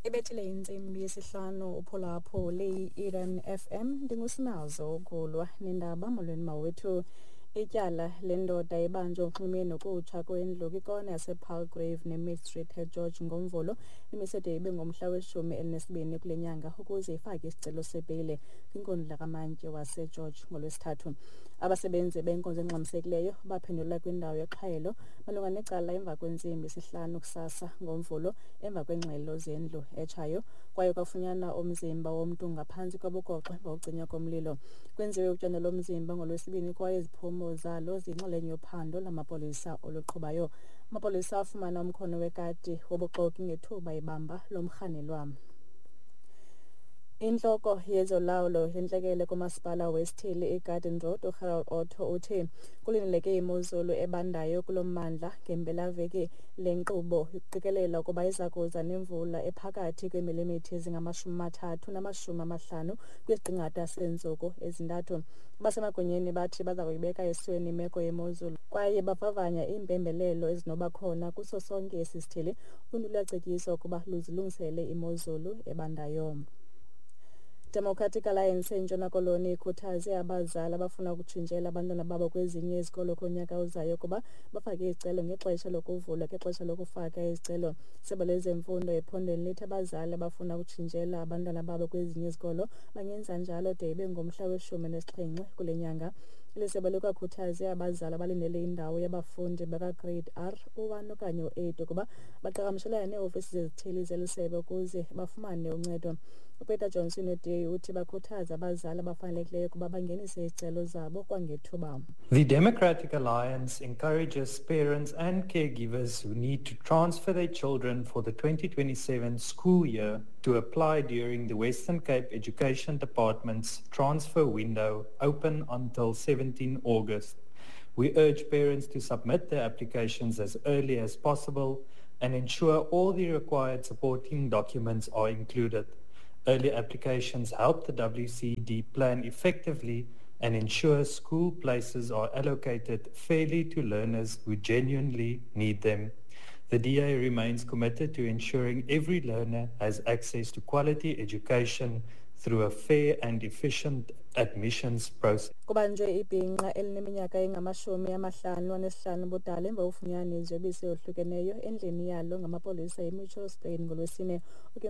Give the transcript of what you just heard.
Ibethile intsimbi yesihlanu uphulaphule i-Eden FM. Ndingusinazo ukulwa nendaba. Molweni mawethu. Ityala lendoda ibanjwe uxhume nokutsha kwendlu kwikona yasePalgrave neMid Street eGeorge ngoMvulo imise de ibe ngomhla we-12 kule nyanga ukuze ifake isicelo sebheyile kwinkundla kamantyi waseGeorge ngoLwesithathu. Abasebenzi benkonzo engxamisekileyo baphendula kwindawo yexhwayelo malunga necala emva kwentsimbi yesihlanu kusasa ngoMvulo emva kweengxelo zendlu etshayo, kwaye kwafunyanwa umzimba womntu ngaphantsi kobugoxo emva kokucinywa komlilo. Kwenziwe utyando lomzimba ngoLwesibini kwaye iziphumo zalo ziyinxalenye yophando lamapolisa oluqhubayo. Amapolisa afumana umkhono wekati wobuxoki ngethuba ibamba lo mrhanelwa. Intloko yezolawulo yentlekele kumasipala wesithili iGarden Road, uGerald Otto, uthi kulindeleke imozulu ebandayo kulo mmandla ngempelaveki. Le nkqubo iqikelela ukuba iza kuza nemvula ephakathi kweemilimitha ezingama-30 nama-50 kwisiqingatha seentsuku ezintathu. Abasemagunyeni bathi baza kuyibeka esweni imeko yemozulu kwaye bavavanya iimpembelelo ezinobakhona kuso sonke esi sithili. Uluntu luyacetyiswa ukuba luzilungisele imozulu ebandayo. Democratic Alliance eNtshona Koloni ikhuthaze abazali abafuna ukutshintshela abantwana babo kwezinye izikolo kunyaka ozayo ukuba bafake izicelo ngexesha lokuvulwa kwexesha lokufaka izicelo. Isebe lezemfundo ephondweni lithi abazali abafuna ukutshintshela abantwana babo kwezinye izikolo bangenza njalo de ibe ngomhla we-17 kule nyanga. Eli sebe likwakhuthaze abazali abalindele indawo yabafundi bakaGrade R, u-1 okanye u-8 ukuba baqhagamshelane neeofisi zezithili zeli sebe ukuze bafumane uncedo. UPeter Johnson weDA uthi bakhuthaza abazali abafanelekileyo ukuba bangenise izicelo zabo kwangethuba. The Democratic Alliance encourages parents and caregivers who need to transfer their children for the 2027 school year to apply during the Western Cape Education Department's transfer window open until 17 August. We urge parents to submit their applications as early as possible and ensure all the required supporting documents are included. Early applications help the WCED plan effectively and ensure school places are allocated fairly to learners who genuinely need them. The DA remains committed to ensuring every learner has access to quality education through a fair and efficient admissions process. Kubanjwe ibhinqa elineminyaka engama-55 ubudala emva kokufunyanwa iziyobisi ezohlukeneyo endlini yalo ngamapolisa eMitchells Plain ngoLwesine.